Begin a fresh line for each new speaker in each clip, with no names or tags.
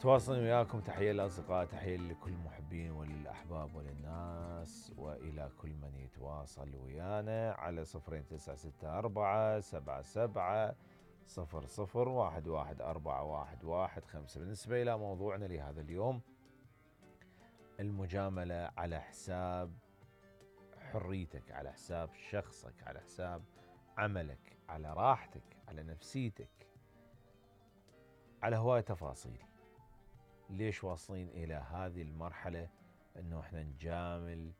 تواصلين وياكم. تحية للأصدقاء، تحية لكل المحبين وللأحباب وللناس وإلى كل من يتواصل ويانا على 0296477700111415. بالنسبة إلى موضوعنا لهذا اليوم، المجاملة على حساب حريتك، على حساب شخصك، على حساب عملك، على راحتك، على نفسيتك، على هواية تفاصيل. ليش واصلين إلى هذه المرحلة أنه احنا نجامل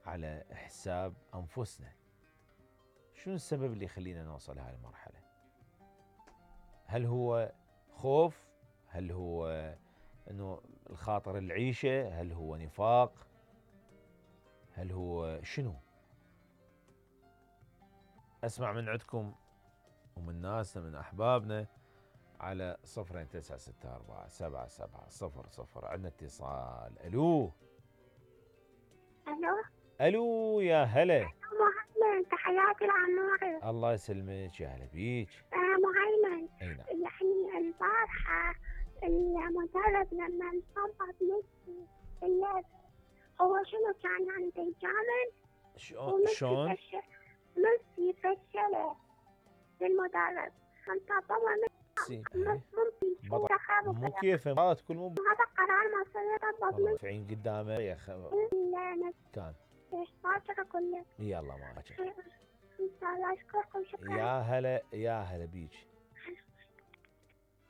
على حساب أنفسنا؟ شنو السبب اللي يخلينا نوصل لهذه المرحلة؟ هل هو خوف؟ هل هو أنه الخاطر العيشة؟ هل هو نفاق؟ هل هو شنو؟ أسمع من عندكم ومن ناسنا من أحبابنا على 0296477700. عندنا اتصال. ألو
الو
ألو، يا هلا.
مهيمن، تحياتي لعموري.
الله يسلمك، يا هلا بيك.
مهيمن،
أي نعم.
يعني البارحة المدرب لما انصبت ميسي اللعب، هو شنو كان يعني بيجامل؟
شلون؟
ميسي فشله المدرب، انتظمه
ميسي
مو
كيف مرات كل مو
هذا قرار مصيري
والله مدفعين قدامه يا كان.
باكر اقول لك
يلا ما
ان شاء الله. اشكركم، شكرا.
يا هلا، يا هلا بيك.